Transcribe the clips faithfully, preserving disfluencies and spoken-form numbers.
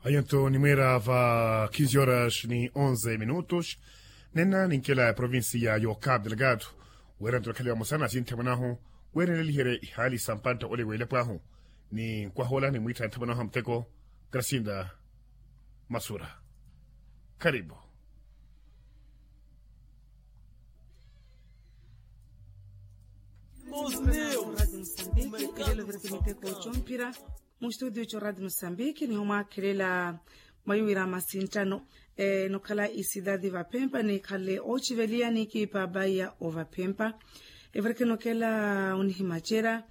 Ayanto nimwera va kinzi horas ni onze minutos. Nena ninkela ya provincia yo cap delgado, wera nto nakhaliwa musana sinthe mwanahu, wera nilelihere ihali sampanto ole wele pwahu. Ni nkwahola ni mwitha nthe mwanahu mteko. Grasinda masura. Karibu. Mustudiocho radio mosambiki niho mwakhelela. Mwayiwira masinttano nokhala isidadi vapempa nikhale ociveliya nikipa baiya ovapempa. Evireke nokela onihimacera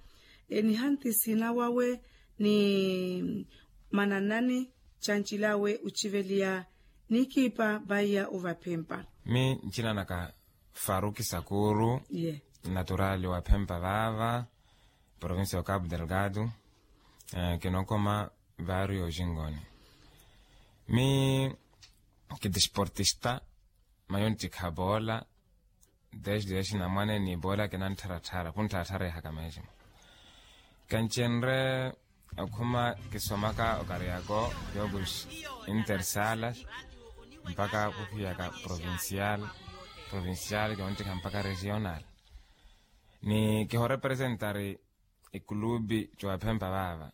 nihanti sinawawe ni mananani chanchilawe ociveliya nikipa baiya ovapempa. Mi nchinanaka faruki sakuru. Naturali wa phempa vava provincia wa capu delgado. Kinokoma vario jingoni. Mi kidisportista mayontikha bola. Desde yaxinamwane ni bola kinanttharatthara khunttharatthara ehaka mesmo. Kanchenre okhuma kisomaka okariako jogos intersalas mpaka kukhiyaka provincial provincial kiontikha mpaka regional. Ni kihorepresentari ikulubi cowaphempa vaava.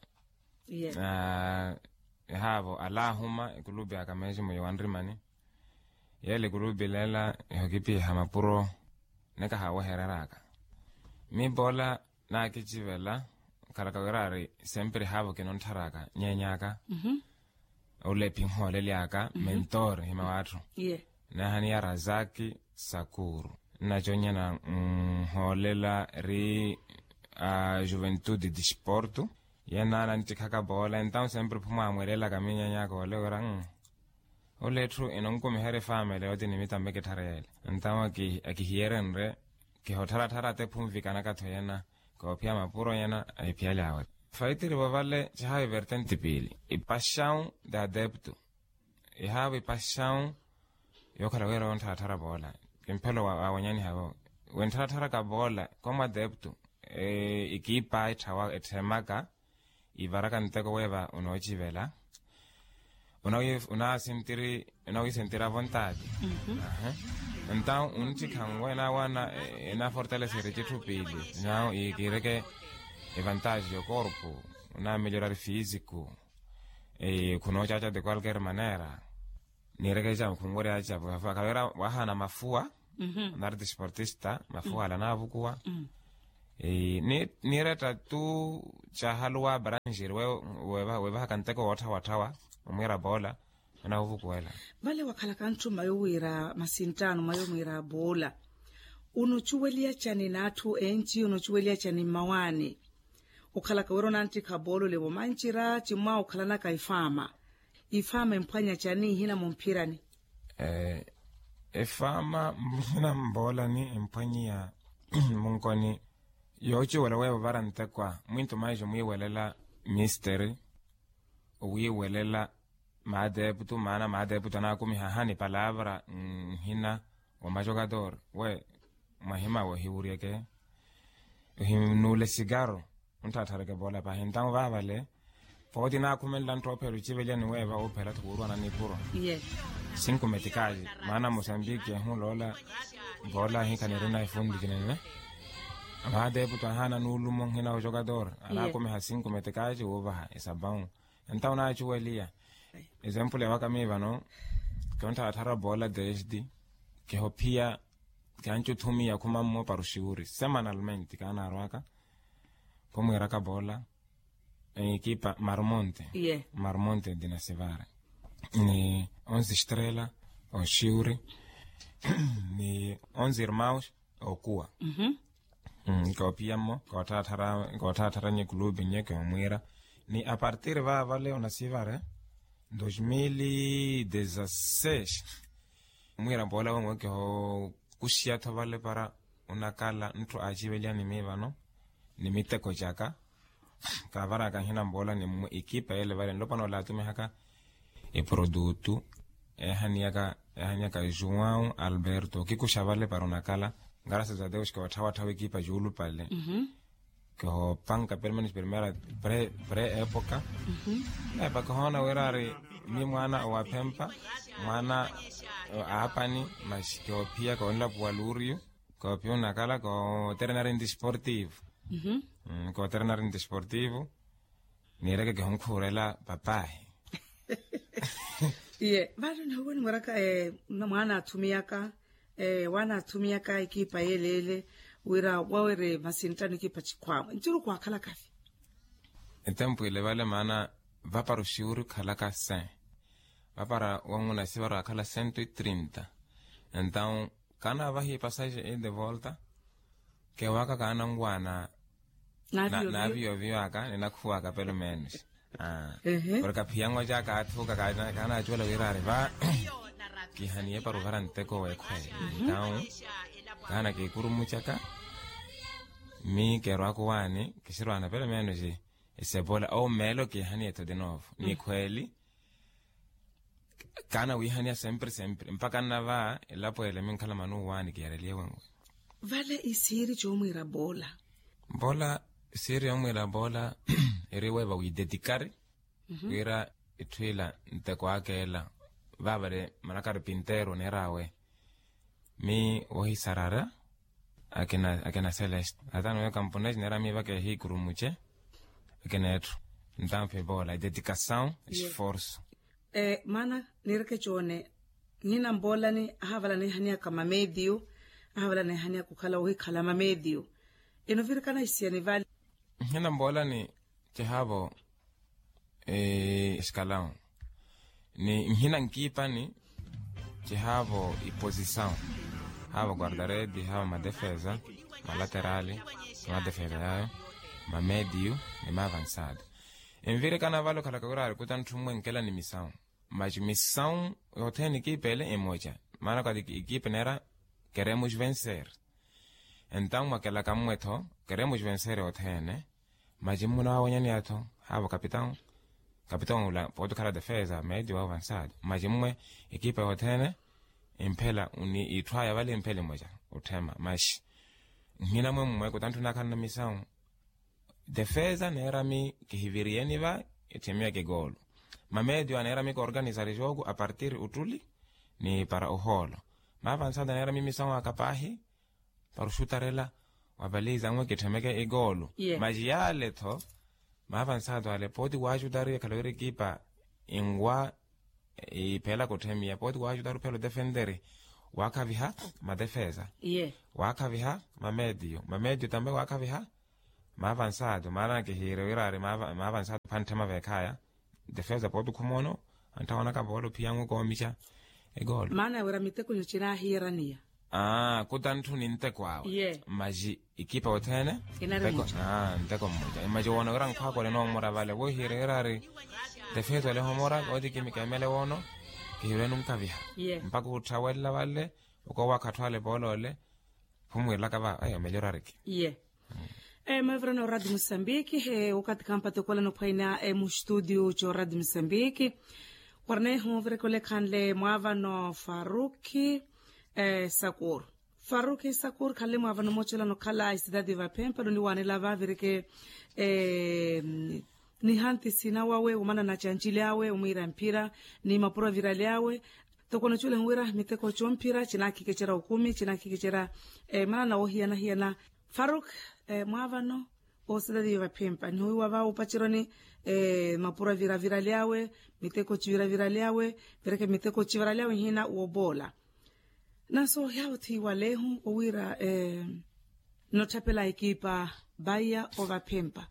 Ehaavo alahuma ikulubi aka mesmo yowanrimani. Yele ikulubi lela ihokipiha mapuro nekahawehereraka. Mi bola nakicivela khalaka wira ari sempre haavo kinontharaka nyenyaka. Ole phinhoolelyaka mentor hima watthu. Nahaniya razaki sakuru nnaconnyana nhoolela ri a juventude disporto. Yena nantikhaka bola entawu sempre phumwamwelelaka minyenyaka ole wira. Ole etthu inonkumiherya efamili yooti ni mitamme kitthareyele. Entawu akihiyeryenrye kihottharatthara atte phunvikanaka-tho yena. Koophiya mapuro yena ahiphiyalyawe. Faitiri vovale cihavi vertenti piili ipaxawu de adepto. Ihavi ipaxawu yookhala wira wonttharatthara boola kimphelo wawanyaniha vo. Wenttharattharaka boola komu adepto ikipa etthawa etthemaka ivaraka nteko weeva unoocivela. Unawisentira vontaati. Entawu unttikhanwe enawana enafortaleseri citthu piili. Nawu ikiireke evantaji yokorpu unamelhorari fisiku. Khunoocaca de qualquer manera. Niireke ecapu khunwerya ecapu khalawira wahana mafuwa. Nari disportista mafuwa ala naavukuwa. Niiretta tu cahaluwa branjiri weevahaka nteko wootthawatthawa omwiira boola. Anawuvukuwela. Vale wakhalaka ntthuma yowira masinttaano mwa yomwiira boola. Unocuweliya cani n'atthu enci unocuweliya cani mmawaani? Okhalaka wira onanttikha boolole vomancira cimmwaha okhalanaka ifaama. Ifaama emphwanya cani ihina mumphirani? Efaama ihina mboolani emphwanyiya munkoni. Yoocuwela weevo vara ntekwa mwinto maijo mwiiwelela misteri. Owiiwelela maateeputu maana maateeputu anaakumiha ahani palavra nhina wa majokator we mwahimawe ohiwuryeke. Ohinuule sikaro ontthatthareke poola pahi entawu vaavale. Pooti naakhumenla ntthoophela ocivelya ni weeva oophela-tho kuurwana nipuro. Cinco metikaci maana mosambiki ehuloola. Poola ahikha nirina efunti cinene. Maateeputu ahaana nuulumo nhina wa jokator anaakumiha cinco metikaci wuuvaha esapawu. Entawu naacuweliya. Esempule waka mii vano. Kionttharattharya poola desde kihophiya. Kiancuthumi yakhuma mmo para oxiwuri semanalmente kaanaarwaka. Khumwiiraka poola ekipa marmonte. Marmonte dinasivare ni onze estrela oxiwuri ni onze irmaus. Okuwa. Nkoopiya mmo nkootthattharanya ekulupi nye kiomwiira. Ni apartir vaava leo nasivare dos mil e dezasseis. Mwiira mpoola wonwe kihookuxiya-tho vale para onakala ntthu aaciveliya ni mii vano ni miteko caka. Kaavaraka nhina mpoola ni mwe ekipa yele vale nlopwana ole aatumihaka eprodutu eehaniyaka eehaniyaka juwau alberto okikuxa vale para onakala. Ngarasas a deus kiotthawatthawa ekipa juulupale. Kihoopanka pelo menos primera pre pre epoka. Epa kihoona wira ari mi mwaana owaphempa, mwaana aapani, masi kihoophiya koonlapuwa luuriyo, koophiya onakala kooterena rinti sportivo. Kooterena rinti sportivo. Niireke kihunkhuurela papahi. Iye vale nihuwe nimweraka mwaana athumiyaka, waana athumiyaka ekipa yeleele, wira wawere masinttano ekipa chikhwaawe nttiru kwaakhalaka vi. Etempu ile vale maana vapara oxiwuri okhalaka cem, vapara wanguna sivara waakhala cento e trinta. Entaw kaana vahi pasaje e de volta. Kewaaka kaana nwaana. Naaviyoviyo aka ninakhuwaka pelo menos. Porke aphiyanwa caaka athuka kaana kaana acuwela wira ari va. Kihaniye para ovara nteko wekhwele. Entaw kaana kikurumucaka mi kerwaka owaani kisirwaana pelo menos. Esebola ou meelo kihaniye tho de novo ni khweli. Kaana wihaniya sempre sempre mpaka nnava elapo ele minkhala mani owaani kiyareliye wenwe. Vale isiiri coomwiira boola. Boola isiiri yoomwiira boola eri weeva wiidetikari wira etthu ila nteko aka ela. Vaavale manakari pinteero oneer'awe mi wohisarara akina celeste atano yo kamponesi neera mi vakeehi kurumuce. Akina etthu ntampe boola ededikasaw esforso. Maana niireke coone nhina mboolani ahavala neehaniyaka mamediyo ahavala neehaniyaka okhala ohikhala mamediyo. Enovirikana isiyani vale. Nhina mboolani cihaavo escalão ni nhina nkiipani. Cihaavo iposisaw haavo guardaredi haavo madefesa malaterali madefesa yayo mamediyu ni maavansada. Envirikana vale okhalaka wira arikuta nthu mmwe nkela ni misaw. Maxi misaw yothene ekipa ele emoca maana kati ekipa neera keremos vencer. Entaw mwakelaka mmwe-tho keremos vencer othene. Maxi mmuno awenyani atho haavo kapitaw kapitaw ula pooti okhala defesa medi wa avansado maxi mmwe ekipa yothene. Imphela ni itthu aya vale imphela emoca otthema maxi nhina mwe mmwe kutantthu nakhalana misaw. Defesa neerami kihiviriyeni va etthemiwa kikoolo. Mamedio aneerami koorganisari jooku apartir ottuli ni para ohoolo. Maavansado aneerami misaw aka paahi para oxutarela wapaliza anwe kitthemeke ikoolo. Maxi yaale-tho maavansado ale pooti waaxutariwa ekhala wira ekipa inwa iphela kutthemiya pooti waaxutari uphela otefenteri. Waakhaviha matefesa waakhaviha mametiyo mametiyo tambe waakhaviha maavansado maana kihiire wira ari maavansado pha ntthema veekhaya. Defesa pooti okhumono antthawonaka poolo phiyangu koomixa. Ekoolo maana wira mitekonyo cinahiyeraniya. Aa kuta ntthu ni nteko awe maxi ekipa othene nteko mmoja maxi woona wira nkhwakole noomora vale wohiire wira ari defesa ole homora ooti kimikemele woono. Kihiirwenu nkaviha mpaka otthawelela vale okowakha atthu ale poolo ole. Khumwiirelaka va ayo melhor ariki. Iye. Mavirano radio mosambiki okathi kampato kola nophwaina mustudio co radio mosambiki. Warneho virekolekanle mwavano faruki sakur. Faruki sakur khanle mwavano mocelano khala isitati vaphempa noniwanela vavireke. Nihanti sina wawe womana na cancili awe omwiira mphira ni mapuro avirali awe. Toko noculehu wira miteko comphira cinakhikecera okumi cinakhikecera. Manana wohiyana-hiyana faruk mwaavano oositatiyo vaphempa nihuwiwa va opaceroni. Mapuro avira avirali awe miteko civira avirali awe. Vireke miteko civira ali awe nhina wooboola. Naso yaawo thiiwalehu owiira notthapela ekipa baiya ovaphempa.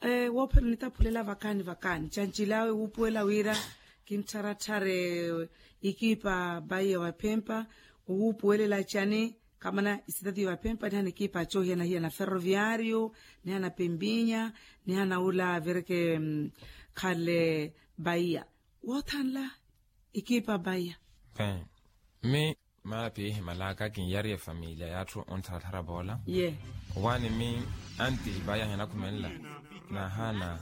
Woophela onitaphulela vakaani vakaani cancilaawe wuupuwela wira kinttharatthar'ekipa baiya ovaphempa. Owuupuwelela cani? Kamana isitatiyo vaphempa nihana ekipa coohiyana-hiyana ferroviario nihana pempinya nihana ula vireke khale baiya. Woothanla ekipa baiya. Mmi maana piihimalaka kinyaariye efamiliya y'atthu onttharathara poola. Owaani mmi anti baiya ahinakhumenla nahaana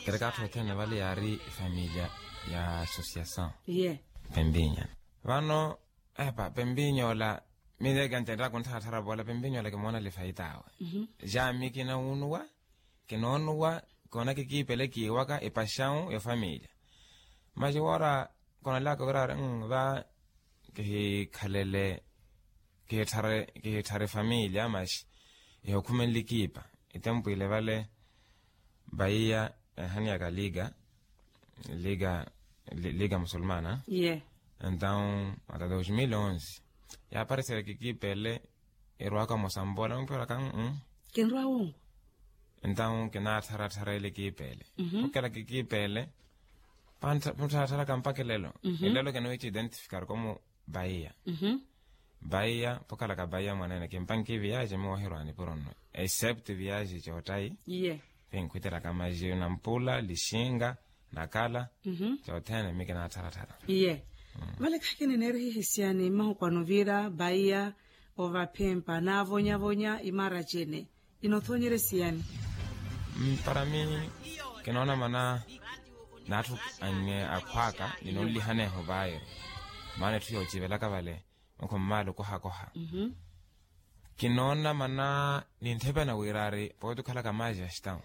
kereka atthu othene vale yaari efamiliya ya associasaw. Pempinya vano epa pempinya ola Mineeka ntettaka onttharatthara voola pimpinyola kimoona lifaitaawe. Jaami kinawunuwa, kinoonuwa, koona kikiipele kiiwaka epaxawu ya familya. Maxi woora koonalaka wira ari va kihikhalele, kihitthare kihitthare familya maxi, ihokhumenle kiipa. Itempwile vale, vaiya enhaniyaka liga, liga, liga musulmana. Entawu ata dos mil onze yaaparisele kikiipele, erwaka mosambola mumphiraka. Kinrwa wongo. Entawu kinaattharatthara ele kiipele. Okela kikiipele, panttharatthara kampakilelo. Elelo kinowiici identifikar komu. Vaiya. Vaiya pokhalaka vaiya mwaneene kimpanki viyaji miwahirwani puronno, except viyaji coottayi. Iye. Pinkhwitteraka maji nampula lixinga, nakala, coothene mi kinaattharatthara. Iye. Vale khakini neerihihisiyani mmahukwano vira vaiya, ovaphempa naavonyavonya imara cene. Inothonyerya esiyani. Para mi kinoona mana n'atthu anne akhwaaka ninonlihaneeho vaayo. Maana etthu yoocivelaka vale, okho mmaali okohakoha. Kinoona mana ninthepena wira ari pooti okhalaka maaji ya xitawu.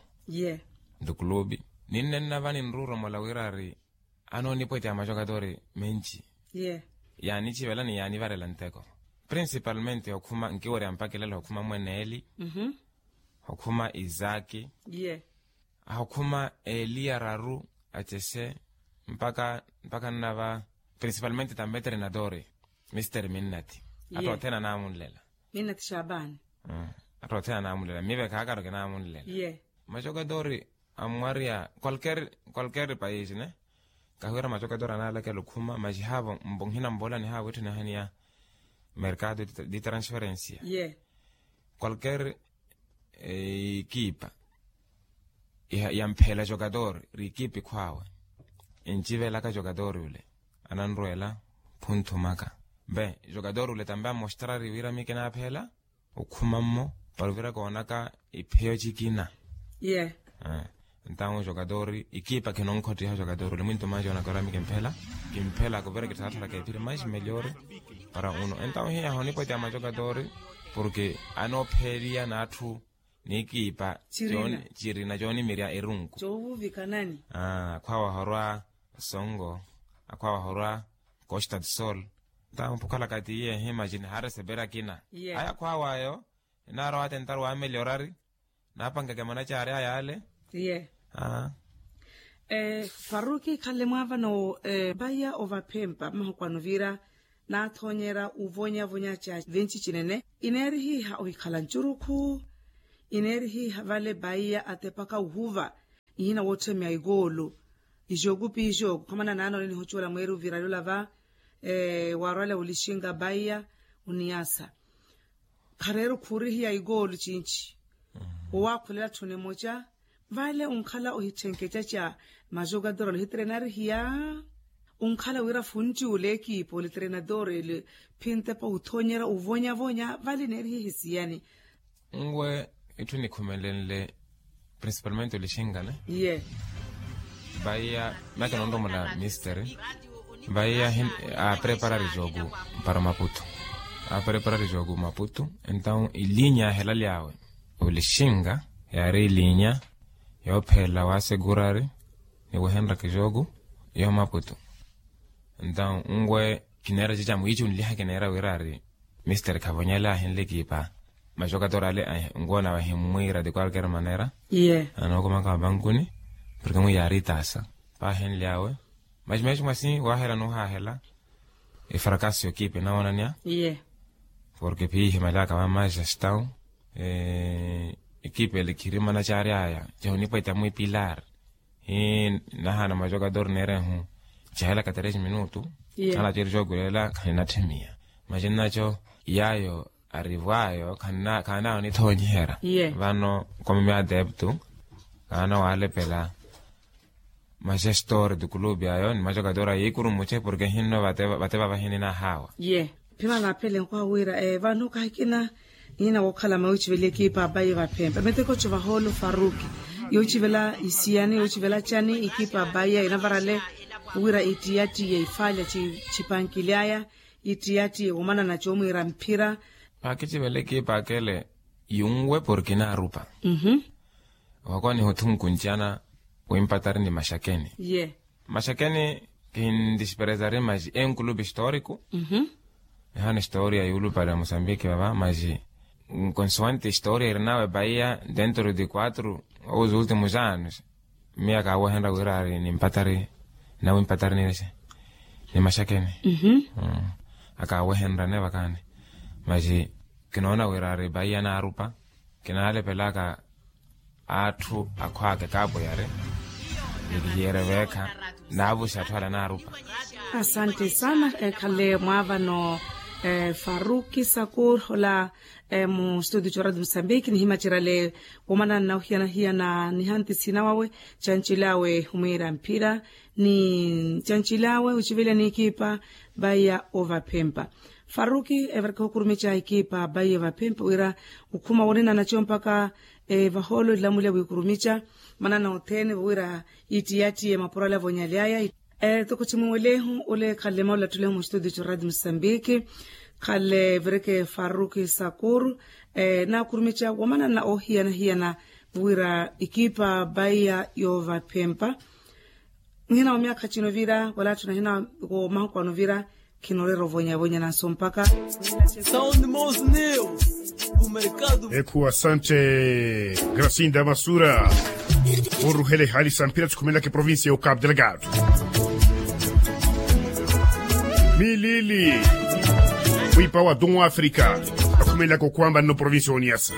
Ntukulupi ninnenna va ninruuromola wira ari anoonipwetya majokatori menci. Yaanichivela ni yaanivarela nteko. Principalmente okhuma nkiwerya mpakilela okhuma mweneeli, okhuma isaki, ahokhuma eeli araru, acese, mpaka mpaka nnava principalmente tampe treinadori, mister minnati. Atthu othene anaamunlela. Minnati xapaani. Atthu othene anaamunlela mive khaakaro kinaamunlela. Majokatori amwarya qualquer qualquer país ne. Kahiwira majokatori anaalakela okhuma maxi haavo mbo nhinambola ni haavo etthu nihaniya mercado de transferencia. Qualquer ekipa yamphela jokatori ri ekipa ikhwaawe, enchivelaka jokatori ole ananrweela phunthumaka. Mbe jokatori ole tambe amostrari wira mi kinaaphela okhuma mmo para ovira koonaka ipheyo cikina. Entawu jokatori ikipa kinonkhotteiha jokatori ole mwinto maji onaka orami kimphela kimphela kuvira kithaathalaka ephiri mais meliori. Para uno entawu hiya honipwetya majokatori, porke anoopheliya n'atthu n'ikipa cirina coonimirya erunku. Akhwaawa horwa songo, akhwaawa horwa costa do sol. Ntampukhalaka tiye ehimacini haaresepera akina. Aya akhwaawayo enaara watentari waameliorari, naapankeke manacaari aya ale. Faruki khale mwaavano vaya ovaphempa mmahukwano vira naathonyera uvonyavonya ca vinci cinene. Ineerihiha ohikhala ncurukhu, ineerihiha vale vaiya atepaka uhuva ihina wootthemiya ikoolo. Ijoku pi ijoku khamana naanole nihocuwela mweeri ovirali olava waarwale olixinga vaiya oniyasa. Khareeru khuurihiya ikoolo cinci. Owaakhulela tthuni emoca vale onkhala ohitthenkeca ca majokatori ole ohitrenarihiya. Onkhala wira funti ole ekipa ole trenadori ele phintepa othonyera ovonyavonya vale neerihihisiyani. Nwe itthu nikhumelenle principalmente olixingane. Vaiya maka nonromola misteri. Vaiya apreparari joku para maputu. Apreparari joku maputu. Entawu ilinya yaahelaly'awe olixinga yaari ilinya yoophelela waasekurari ni wehenraka joku yo maputu. Entawu nwe kineera cica mwiici onliha kineera wira ari misteri khavonyale ahinle ekipa. Majokatori ale nkuwo nawe ahimmwiira de qualquer manera. Anookomaka vapankuni porke mwiiya ari itaasa paahinly'awe. Maxi maxi mwasi waahela nuhaahela efrakaso y'ekipa enawonanya. Porke piihimalyaka va manchester town. Ekipa ele khirimana caari aya cahunipwetya mwipilar. Hii nahaana majokatori neerehu cahelaka tres minutu. Khanaceri cookulela khaninatthimiya. Maxi nnaco yaayo arivwaayo khaana onithoonyiherya. Vano komimi adeptu khaana waalepela. Maxestori tukulupi ayo ni majokatori ayikurumuce porke hinno vate vavahinina haawa. Phimana aphele nkwaha wira vano kahikina nina wookhala mawiici veli ekipa abayi vaphempa miteko co vahoolo faruki. Yoocivela isiyani yoocivela cani ekipa abayi inavarale wira itiyatiye ifaalya cipankily'aya. Ittiyattiye womanana coomwiira mphira. Paakicivela ekipa akele yunwe porki naarupa. Wako nihuthunkuncana wimpatari ni maxakeni. Ye maxakeni kihintisiperezari maxi enkulupe historiku. Ehana historia yuulupale ya mosambiki vava maxi nkonsuwante historia irinawe baia dentro de quatro ou os últimos anos. Miya kaawehenrya wira ari nimpatari nawimpatari ni maxakeni. Akaawehenrya ne vakani maxi kinoona wira ari baia naarupa. Kinaalepelaka atthu akhwaka ekaapo yari ni kihiyere veekha naavuxa atthu ala naarupa. Asante sana. Ekhale mwaavano faruki sakur ola mu studio coradio mosambiki nihimacerale womanana na ohiyana-hiyana nihanti sina wawe. Cancilaawe humwiira mphira ni cancilaawe ocivela n'ikipa vaiya ovaphempa. Faruki evareke ohukurumica ikipa vaiya ovaphempa wira okhuma wonenana co mpaka vahoolo elamulya wiikurumica manana othene vowira ittiyattiye mapuro ala vonyalyaya. Toko cimuwelehu ole khale maulattule mu studio co radio mosambiki khale vireke faruki sakur naakurumica wamanana ohiyana-hiyana vowira ikipa vaiya yovaphempa. Nhina wa myakha cino vira wala atthu nahina ko mahuku ano vira khinoreera ovonya vonya nanso mpaka. Sound mos news. Ekhu asante gracinda masura oruhele hali samphira sikhumelaka eprovincia ya ucabo delgado. Milili wipa wa dun wa africa akhumelaka okhwamba nno provincia ya oniasa.